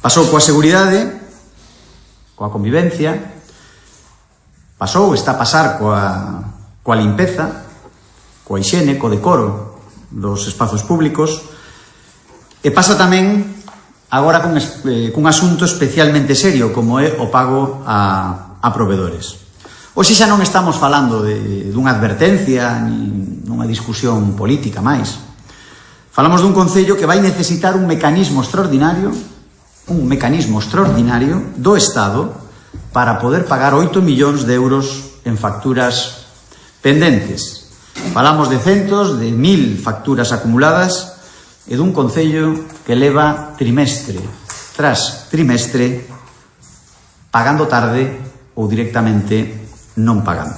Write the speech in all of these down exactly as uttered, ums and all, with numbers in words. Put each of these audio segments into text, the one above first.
Pasou coa seguridade, coa convivencia, pasou, está a pasar coa, coa limpeza, coa higiene, co decoro dos espazos públicos, e pasa tamén agora con, eh, cun asunto especialmente serio, como é o pago a, a provedores. Hoxe xa non estamos falando de, dunha advertencia, ni nunha discusión política máis. Falamos dun concello que vai necesitar un mecanismo extraordinario, un mecanismo extraordinario do Estado para poder pagar oito millóns de euros en facturas pendentes. Falamos de centos, de mil facturas acumuladas e dun concello que leva trimestre tras trimestre pagando tarde ou directamente non pagando.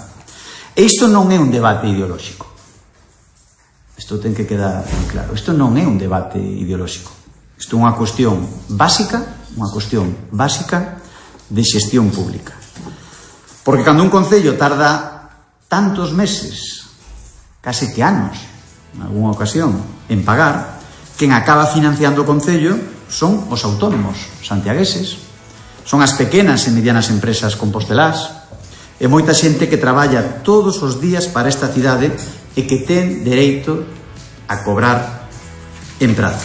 E isto non é un debate ideolóxico. Isto ten que quedar moi claro. Isto non é un debate ideolóxico. Isto é unha cuestión básica, unha cuestión básica de xestión pública. Porque cando un concello tarda tantos meses, case que anos, en algunha ocasión, en pagar, quen acaba financiando o concello son os autónomos santiagueses, son as pequenas e medianas empresas compostelás, e moita xente que traballa todos os días para esta cidade e que ten dereito a cobrar en prazo.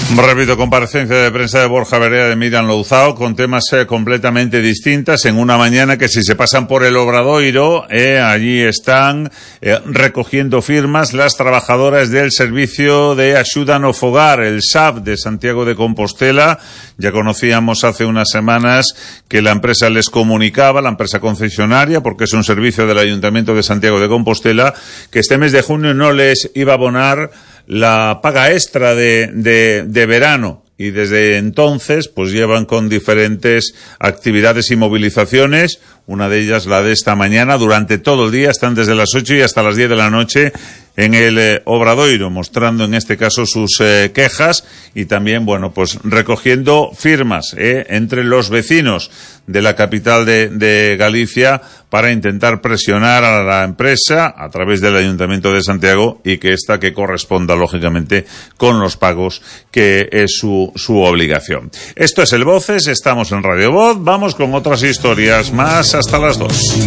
Repito, comparecencia de prensa de Borja Verea de Miriam Louzao con temas eh, completamente distintas en una mañana que si se pasan por el Obradoiro, eh, allí están eh, recogiendo firmas las trabajadoras del Servicio de Axuda no Fogar, el S A F de Santiago de Compostela. Ya conocíamos hace unas semanas que la empresa les comunicaba, la empresa concesionaria, porque es un servicio del Ayuntamiento de Santiago de Compostela, que este mes de junio no les iba a abonar la paga extra de, de, de verano, y desde entonces pues llevan con diferentes actividades y movilizaciones, una de ellas la de esta mañana, durante todo el día, están desde las ocho y hasta las diez de la noche en el eh, Obradoiro, mostrando en este caso sus eh, quejas y también, bueno, pues recogiendo firmas eh, entre los vecinos de la capital de, de Galicia para intentar presionar a la empresa a través del Ayuntamiento de Santiago y que esta que corresponda lógicamente con los pagos que es su, su obligación. Esto es el Voces, estamos en Radio Voz, vamos con otras historias más hasta las dos.